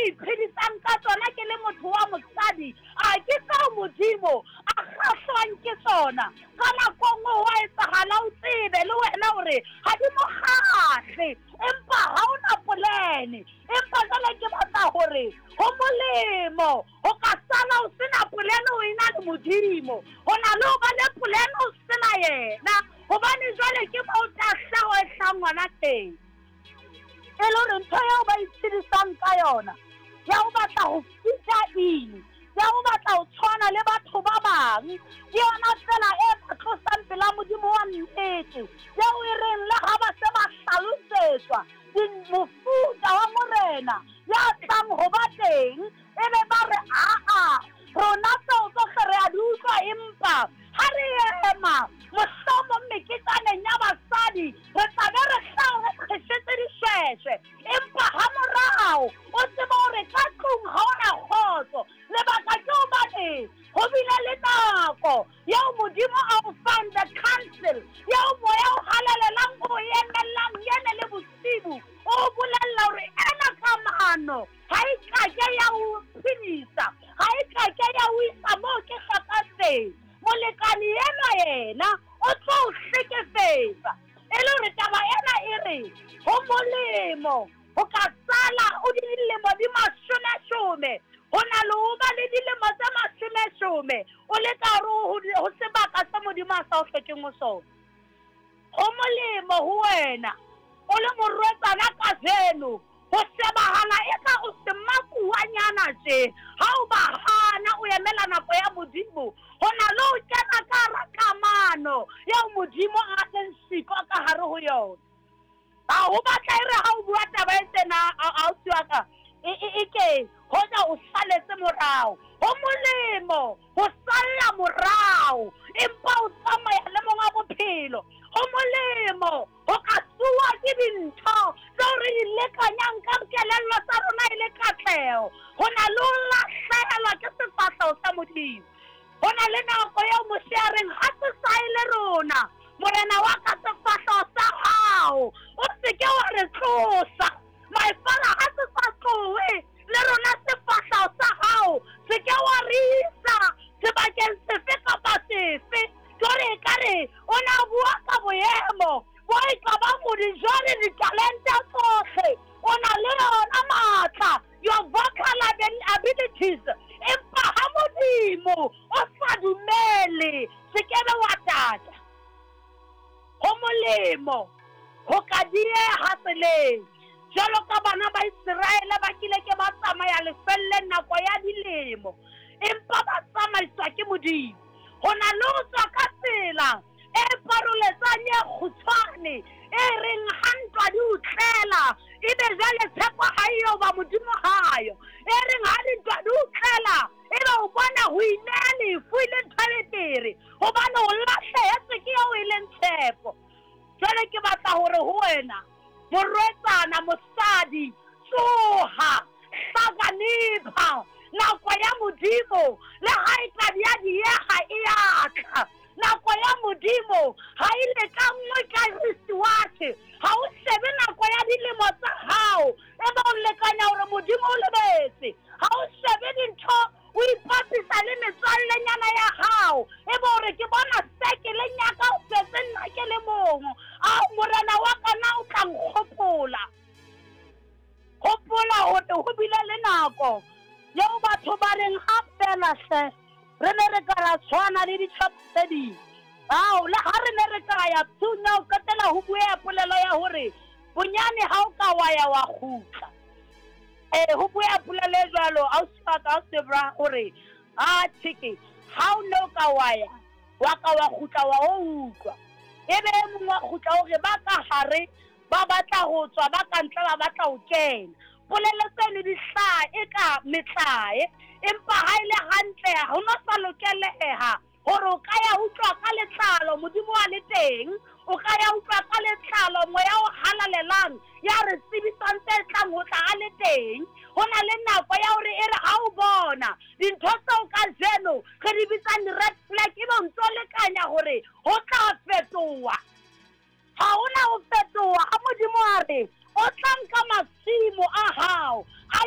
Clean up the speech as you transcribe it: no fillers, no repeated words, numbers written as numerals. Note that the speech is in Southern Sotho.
iphedisang ka tsona ke le motho wa mosadi, a ke tseo Modimo a kgahlwang ke tsona? Ka nako e nngwe ho a etsahala o tsebe le wena hore ha di mo kgahle, empa ha o na polene. Empa jwale ke batla hore ho molemo ho ka sala o sena polene o ena le Modimo, ho na le ho ba le polene o sena yena, hobane jwale ke moo tahleho e hlahang hona teng. E le hore ntho eo ba itshedisang ka yona ya ho batla ho fita in, ya ho batla ho tshwana le batho ba bang, ke yona tsela e ba tlosang pela Modimo wa nnete, eo e reng le ha ba se ba hlalosetswa mofuta wa Morena ya tlang ho ba teng, e be ba re, Aa, rona tseo tsohle re a di utlwa, empa ha re ema mohlomong meketjaneng ya basadi re tla be re hlaha re qheshetse dishweshwe. Empa hamorao o tsebe hore ka tlung ha o na kgotso. Lebaka ke hobane ho bile le nako eo Modimo a o fang the counsel, eo Moya o Halalelang o emellang yene le bosibu, o bolella hore ena kamano ha e kake ya o phedisa, ha e kake ya o isa moo ke hlokang teng. Molekane enwa yena o tlo o hlekefetsa. E le hore taba ena e re ho molemo ho ka sala o di dilemo di mashomeshome ho na le ho ba le dilemo tse mashomeshome o le ka hare ho sebaka se Modimo a sa o hlokeng ho sona. Ho molemo ho wena o le morwetsana kajeno ho shebahala eka o semakuwanyana tje, ha o ba hana o emela nako ya Modimo, ho na le ho kena ka hara kamano eo Modimo a leng siko ka hare ho yona. Ha ho batla e re ha o bua taba e tjena, ausi wa ka, e ke hoja o saletse morao. Ho molemo ho salla morao empa o tsamaya le monga bophelo. Ho molemo ho ka tsoa ke dintho tseo re di lekanyang ka kelello tsa rona e le katleho, ho na le ho lahlehelwa ke sefahleho sa Modimo. Ho na le nako eo Moshe a reng, ha se sa e le rona, Morena wa ka, sefahleho sa hao o se ke wa re tlosa. My father, ha se sa tlohe le rona, sefahleho sa hao se ke wa re isa sebakeng sefe kapa sefe. Jwale ekare o na bua ka boemo bo e ka bang o di jwale ditalente tsohle o na le yona matla, your vocal abilities, empa ha Modimo o sa dumele se kebe wa tata. Ho molemo ho ka dieha tseleng jwalo ka bana ba Iseraele ba kile ke ba tsamaya lefelleng nako ya dilemo, empa ba tsamaiswa ke Modimo. Ho na le ho tswa ka tsela e paroletsang e kgutshwane e reng ha ntwa di o tlela ebe jwale tshepo ha eyo ba Modimo hayo, e reng ha dintwa di o tlela ebe o bona ho ineha lefu e le ntho e betere hobane o lahlehetswe ke eo e leng tshepo. Jwale ke batla hore ho wena morwetsana, mosadi, tsoha, hlakanipha, nako ya Modimo le ha e ka ya dieha e ya tla. Nako ya Modimo ha e lekanngwe ka wristwatch, ha o shebe nako ya dilemo tsa hao ebe o lekanya hore Modimo o lebetse. Ha o shebe dintho o ipapisa le metswallenyana ya hao ebe hore ke bona sekeleng ya ka o setse nna ke le mong. Ao Morena wa ka, na o tla nkgopola? Hopola hore ho bile le nako eo batho ba reng ha fela hle re ne re ka ra tshwana le ditjhaba tse ding. Ao le ha re ne re ka ya psung ya ho qetela ho bueha polelo ya hore bonyane ha o ka wa ya wa kgutla. Ho bueha polelo e jwalo, ausi wa ka, ausi Debra, hore a tjheke ha o ne o ka wa ya wa ka wa kgutla wa o utlwa. Ebe e mong wa kgutla hore ba ka hare ba batla ho tswa, ba ka ntle ba batla ho kena. Polelo tseno di hlaha eka metlae, empa ha e le hantle ho no sa lokeleha hore o ka ya utlwa ka letlalo Modimo a le teng, o ka ya utlwa ka letlalo Moya o Halalelang ya re tsebisang tse tlang ho tla a le teng. Ho na le nako ya hore e re ha o bona dintho tseo kajeno re di bitsang di-red flag, ebe o ntso lekanya hore ho tla fetoha. Ha hona ho fetoha ha Modimo a re o tla nka masimo a hao a.